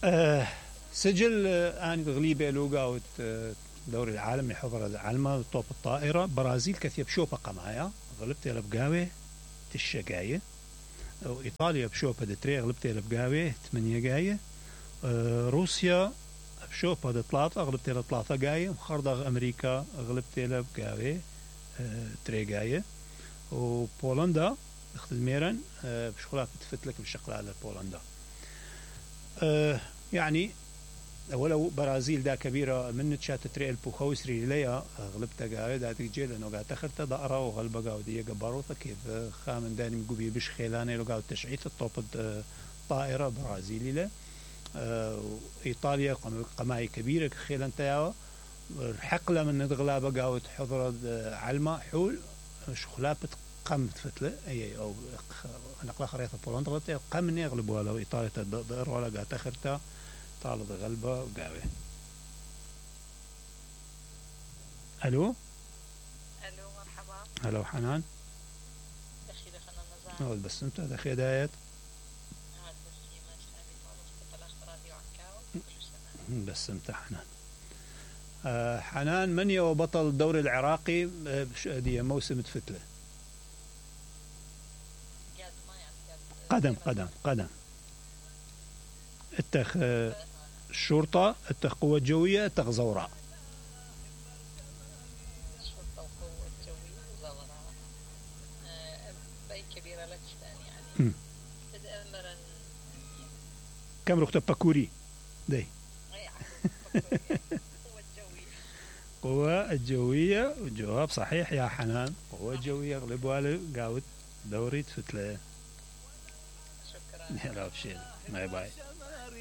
أه سجل أنا غليبة لوغا دوري العالم لحضر علما طوب الطائرة برازيل كثير بشوبة قمايا غلبت لبقاوي تشة جاية وإيطاليا بشوبة دتري غلبت لبقاوي 8 جاية روسيا بشوبة دطلاطة غلبت لطلاطة جاية وخرضغ أمريكا غلبت لبقاوي 3 جاية وبولندا اخت الميرن بشغلات بتفتلك بالشقلة على بولندا يعني ولو برازيل دا كبيرة من تشات تريل بوخوسري ليا غلبتا قاعد دا تجي لأنه قاعد تخرت ضأرة وغلبة قاعد دي جبروتا كيف خامن داني مقبي بش خيلاني لو قاعد تشعيت الطوب طائرة برازيلي له إيطاليا قماي كبيرة خيلان تياوا الحقلة من الغلابة قاعد حضر علما حول شخلات قم فتلة أي أو نقل خريطة بولندا غلبت قم يغلبوا لو إيطاليا تدر ولا قاعد تخرتها طالب غلبة وقاوي. ألو مرحبا. هلا حنان. دخي دخلنا نزار. أول بس أنت دخي دايت. بس أنت حنان. حنان من هو بطل الدوري العراقي دي موسم فتلة؟ قدم. اتخ الشرطة اتخ قوة جوية اتخ زوراء. الشرطة وقوة جوية وزوراء. باي كبيرة لتشتان يعني. تدأمرا. كم ركتب باكوري دي. قوة الجوية وجواب صحيح يا حنان. قوة جوية غلبوا قاوت دوري فتلة. شكرا. لا بشيء. باي باي.